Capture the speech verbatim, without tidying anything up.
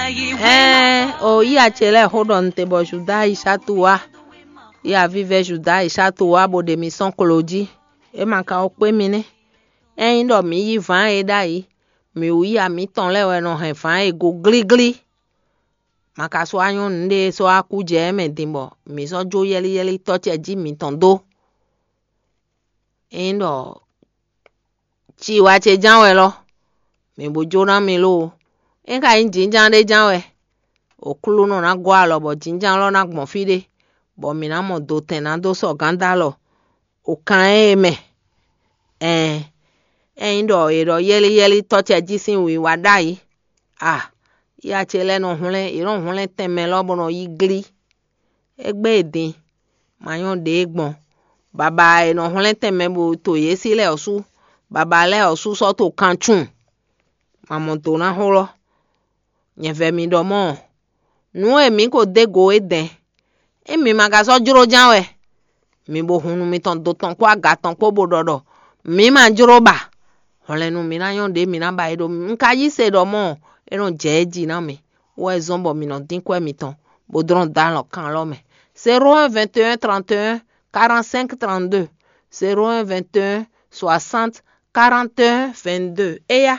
Ɛɛn, o yí acɛ lɛ́ɛ xó ɖɔ nte bɔ Juda yi Satu wá, yi avivɛ Juda yi Satu wá bó ɖe mi sɔ́n klo jí. É ma ka ó kpé mi nɛ́. Ényí ɖɔ mǐ yí vǎn e ɖ'ayǐ, mǐ wú ya mǐtɔn lɛ́ɛ wɛ nɔ hɛn vǎn e go glíglí. Ma ka sɔ́ wá nyɔ́ nǔɖé e sɔ́ wá kú jɛ ɛ mɛ din bɔ mǐ sɔ́ jó yɛ́líyɛ́lí tɔ́ ce jí mǐtɔn dó. Ényí ɖɔ ci wá ce ján wɛ lɔ, mǐ bo jó ná mi lóo. É ka nyí jǐnján ɖé ján wɛ, Aklúnɔ ná gɔ́ alɔ bɔ jǐnján lɔ ná gbɔn fí ɖé, bɔ mǐ ná mɔ dotɛn ná dó sɔgǎn dó alɔ o kan ée mɛ. Ɛɛn, ényí ɖɔ è ɖɔ yɛ́líyɛ́lí tɔ́ ce jí sín wǐwá ɖ'ayǐ, a, yá ce lɛ́ɛ nɔ hwlɛ́n, yě nɔ hwlɛ́n tɛnmɛ lɔ bó nɔ yí glí. É gbé e din, ma nyɔ́ ɖě gbɔn. Baba e nɔ hwlɛ́n tɛnmɛ bo to yě sí lɛ́ɛ ɔ́ sú, baba lɛ́ɛ ɔ́ sú sɔ́ to kan cun. Ma mɔ do ná xó lɔ. Nyɛ vɛ mi ɖɔ mɔ̌, nǔ e mǐ ko dó go é dɛ̌n, é mi ma ka sɔ́ jló ján wɛ. Mi bo hun nú mitɔn do tɔn kpó aga tɔn kpó bo ɖɔ ɖɔ mǐ ma jló ba. Hwlɛ̌nnu mǐ ná nyɔ́ ɖě mǐ ná ba é ɖó. Un ka yí se ɖɔ mɔ̌, é nɔ jɛ é jí ná mi, wɛ zɔ́n bɔ mǐ nɔ dín kwɛ́ mitɔn, bó dlɔ́n dó alɔ kan lɔ mɛ. Zéro un vingt et un trente et un quarante-cinq trente-deux, zéro un vingt et un soixante quarante et un vingt-deux. Éya.